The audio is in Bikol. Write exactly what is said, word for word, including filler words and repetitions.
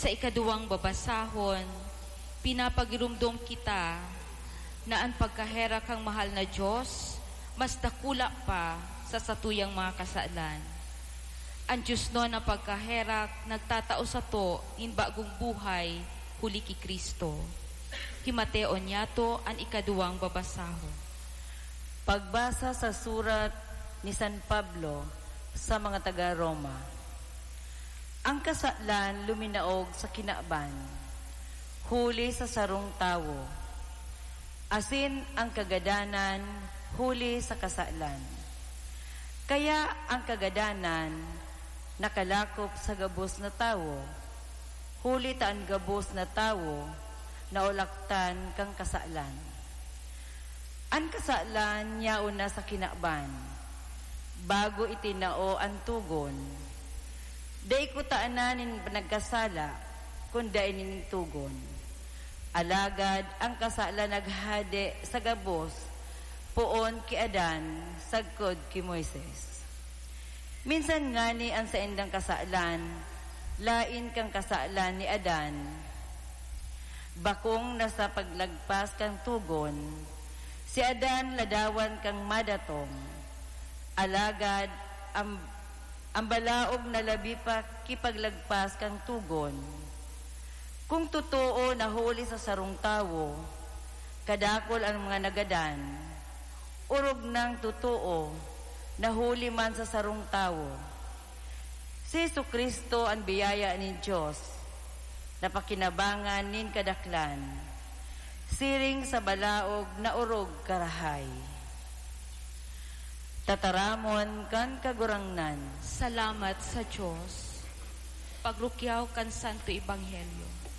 Sa ikaduwang babasahon, pinapagirumdom kita na an pagkaherak kan mahal na Dios mas dakula pa sa satuyang mga kasalan. An diosnon na pagkaherak nagtatao sato nin bagong buhay huli ki Cristo. Himateon niyato an ikaduwang babasahon. Pagbasa sa surat ni San Pablo sa mga taga Roma. Ang kasalan luminaog sa kinaban, huli sa sarong tawo, asin ang kagadanan huli sa kasalan. Kaya ang kagadanan nakalakop sa gabos na tawo, huli ta an gabos na tawo naulaktan kan kasalan. An kasalan yaon na sa kinaban, bago itinao an togon. Dai kutana nin nagkasala, kun dai nin togon. Alagad an kasalan naghade sa gabos poon ki Adan sagkod ki Moises. Minsan ngani an saindang kasalan laen kan kasalan ni Adan. Bakong na sa paglagpas kan togon, si Adan ladawan kan madatong. Alagad an, an balaog na labi pa ki paglagpas kan togon. Kun totoo na huli sa sarong tawo kadakul an mga nagadan, orog nang totoo na huli man sa sarong tawo. Si Jesu-Cristo an biyaya nin Dios na pakinabangan nin kadaklan, siring sa balaog na orog karahay. Tataramon kan Kagurangnan. Salamat sa Dios. Pagrukyaw kan Santo Ebanghelyo.